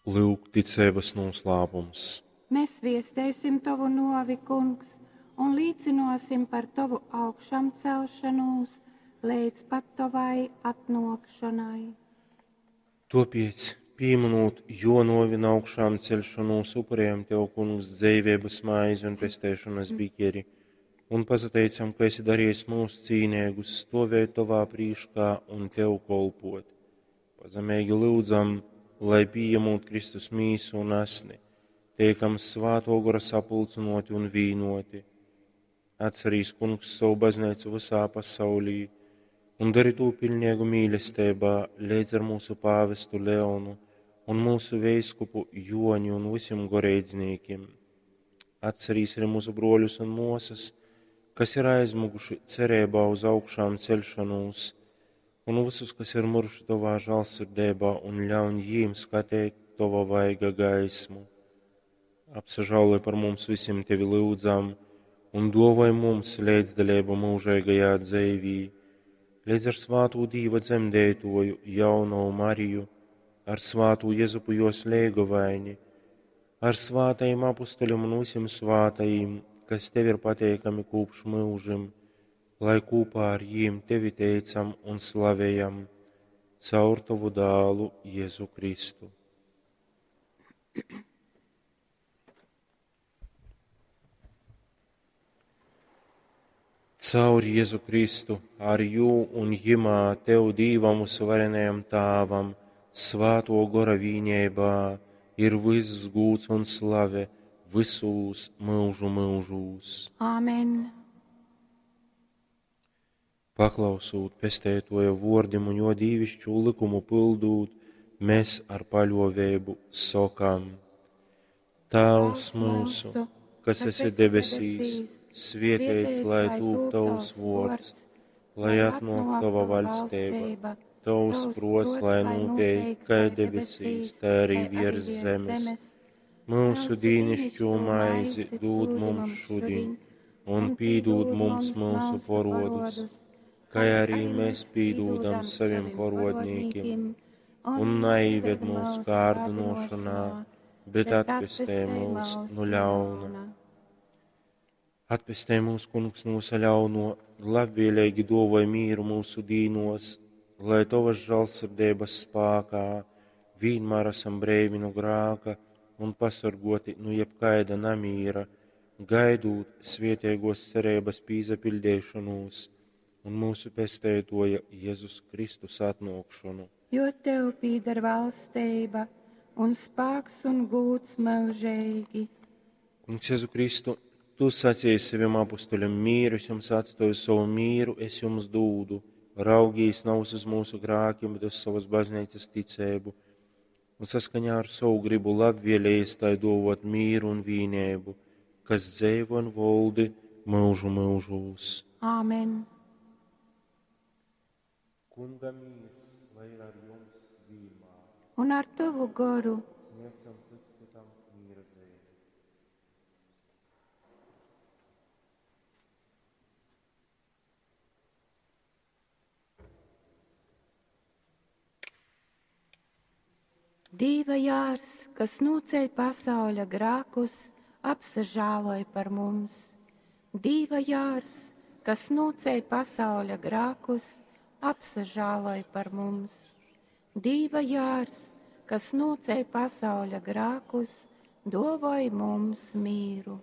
Lyuk, ticeibas nūslāpums. Mēs viesteisim tovu nuovi, Kungs, un līcynuosim par tovu augšamcelšanūs leidz pat tovai atnuokšonai. Tuopiec, pīmynūt juo nuovi un augšāmceļšonūs, upurējam Tev, Kungs, dzeiveibas maizi un pesteišonas bikeri, un pasateicam, ka esi darījis mūs cīneigus stovēt Tovā prīškā un Tev kolpot. Pazemeigi lyudzam, lai pījemūt Kristus mīsu un asni, teikam Svātō Gora sapulcynōti un vīnoti. Atcerīs, Kungs, savu baznīcu visā pasaulī un dari tū pilnīgu mīlestībā leidz ar mūsu pāvestu Leonu un mūsu veiskupu Joni un visiem goreidznīkim. Atcerīs arī mūsu broļus un mosas, kas ir aizmuguši cerībā uz augšām celšanos, un visus, kas ir miruši Tavā žālsirdībā, un ļauj jīm skatīt Tava vaiga gaismu. Apsažāloj par mums visiem Tevi lūdzam, un dovoj mums līdzdalību mūžīgajā dzīvī, līdz ar svātū Dīva dzemdētoju, jauno Mariju, ar svātū Jezupu jos leigovaini, ar svātajiem apustuļiem un visiem svātajiem, kas Tev ir pateikami kopš mūžim, lai kopā ar jiem Tevi teicam un slavējam caur Tavu dālu Jēzu Kristu. Caur Jēzu Kristu, ar jū un jimā Tev Dīvam uzvarenajam Tāvam, svāto gora vīņībā, ir viss gūts un slave visūs mūžu mūžūs. Āmen. Paklausūt pestētoja vordim un jo dīvišķu likumu pildūt, mēs ar paļovēbu sokam: Tēvs mūsu, kas esi debesīs, svietēts, lai tūp tavs vords, lai atnāk tava vaļstība, tavs prots, lai notiek kā debesīs, tā arī virs zemes. Mūsu dīnišķo maizi dod mums šodien, un pīdūd mums mūsu porodus, kā arī mēs pīdūdam saviem porodnīkim, un neived mūsu kārdinošanā, bet atpestē mūs no ļauna. Atpestē mūs, kungs, no visa ļauno, labvēlīgi dovoj mīru mūsu dīnos, lai tavas žālsirdības spākā vienmēr esam breivi no grāka un pasargoti no jebkaida namīra, gaidūt svietiegos cerības pīzapildīšanos un mūsu pestētoja Jēzus Kristus atnākšanu. Jo tev pīder valstība un spāks un gūts mūžīgi. Kungs Jēzu Kristu, tu sacīji saviem apustuļiem mīru, es jums atstāju savu mīru, es jums dūdu. Raugīs nav uz mūsu grākiem, bet uz savas baznīcas ticēbu, un saskaņā ar savu gribu labvēlējies tai dovot mīru un vīnēbu, kas dzēvo un voldi mūžu mūžūs. Āmen. Kunga mīrs, lai ir ar jums vienmēr. Un ar tavu goru. Sniegsim cits citam mīra zīmi. Dīva jārs, kas nūceļ pasauļa grākus, apsažāloj par mums. Dīva jārs, kas nūceļ pasauļa grākus, apsažāloj par mums. Dīva jārs, kas nūceļ pasauļa grākus, dovoj mums mīru.